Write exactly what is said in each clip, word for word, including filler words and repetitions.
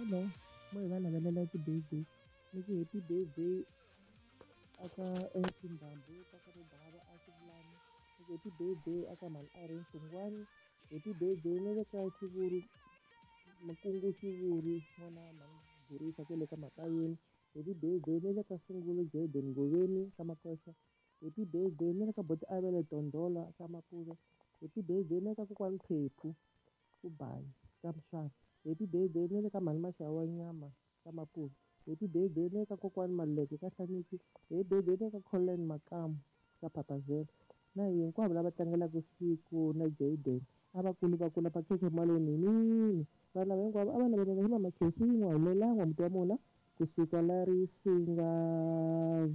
Hello, mo hi va navelela ti-birthday ni ku happy birthday aka M C Ndhambi ka ka Ribava a Xivulani, ni ku happy birthday aka mhani Irene Xingwani, happy birthday na le ka Xivuri Makungu Xivuri n'wana mhani Burisa kwale ka Makayeni, happy birthday na le ka Sungula Jaden Ngoveni ka Makoxa, happy birthday na le ka Boti Avele Dondola ka Mapuve, happy birthday na le ka kokwani Phephu ku Bayi ka Mhlava, happy birthday na le ka mhani Maxava wa nyama ka Mapuve, happy birthday na le ka kokwani Maluleke ka Hlaniki, happy birthday na le ka Collen Makamu ka Phaphazela na hinkwavo lava tlangelaka siku na Jaden a va kuli va kula makhekhe malonini vanhu lava hinkwavo a va navelela hi mama Khensi n'wa humelela n'wamuti wa mona kusuka la Risinga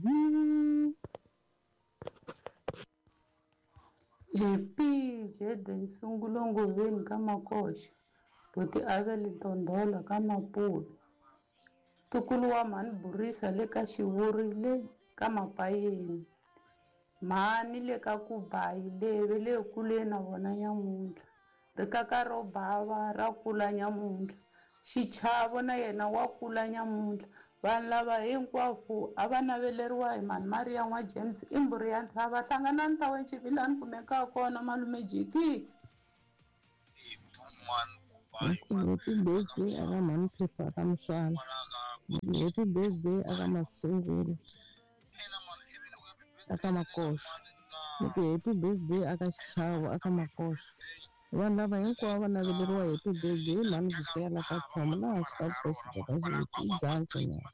view. Happy Jaden Sungulo Ngoveni ka Makoxa, Buti Avele Dondolo ka Mapuve, ntukulu wa mhani Burisa le ka Xivuri le ka Mapayeni, mhani le ka Kubayi le ve le kuleni na vona nyamuntlha, rikaka ro bava ra kula nyamuntlha, Xichavo na yena wa kula nyamuntlha. Vanhu lava hinkwavo a va naveleriwa hi mhani Maria n'wa James i mbhuri ya ntshava hlanganani township laha ni kumekaka kona malume Jiki. Happy birthday aka mhani Phepha aka Mswana, happy birthday aka Masungulo aka Makoxa, ni ku happy birthday aka Xichavo aka Makoxa. Vanhu lava hinkwavo va naveleriwa happy birthday hi mhani Vukela ka Tlhomo laha hansi ka vukosi bya ka Xiviti i Janso nyana.